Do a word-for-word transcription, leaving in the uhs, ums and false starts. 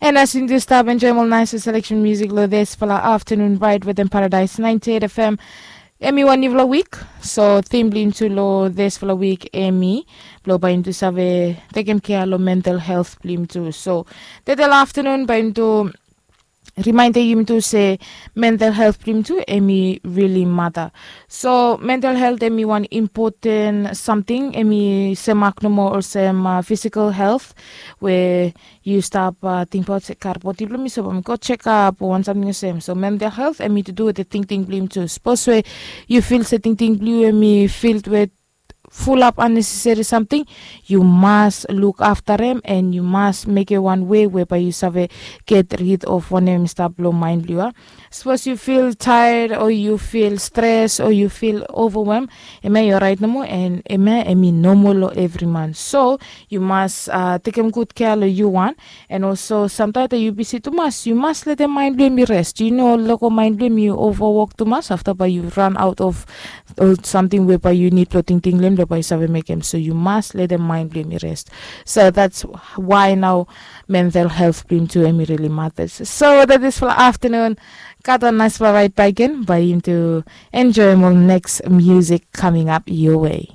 And as yumi tu stap enjoim ol nais seleksen musik long dispela aftanun, rait wetem Paradise ninety eight F M. Em i wan nifala wik. So tim bilong yumi tu long dispela wik em i bilong bai yumi tu save tekem kea long mental health bilong yumi tu. So tedela aftanun bai yumi tu rimainda yumi tu se mental health bilong yumi tu em i rili mata. So mental health em i wan impoten samting, em i semak nomo olsem uh, physical health, we yu stap uh, tingbaut se kar bodi bilong mi so bai mi go chekap o wan samting olsem. So mental health em i to do with the tingting bilong yumi tu. Sapos we yu fil se tingting bilong yu em i filled with fulap unnecessary samting, yu mas luk afta em, and yu mas mekim wan wei we bai yu save get rid of wanem i stap long mind bilong yu. Sapos yu fil tired o yu fil stres o yu fil overwhelm, em ya i orait nomo, and em ya em i nomo long evri man. So yu mas uh, tekem gud kea long yu wan. And also samtaim yu bisi tumas, yu mas letem mind bilong mi rest. Yu no loko mind bilong mi overwork tumas, afta bai yu run out of ol samting we bai yu nid long tingting long em, bai yu save mekem. So yu mas letem mind bilong mi rest. So that's why now mental health bilong tu em i really matters. So that is for afternoon. Gat wan nice bai right back in bai yumi tu enjoy more next music coming up your way.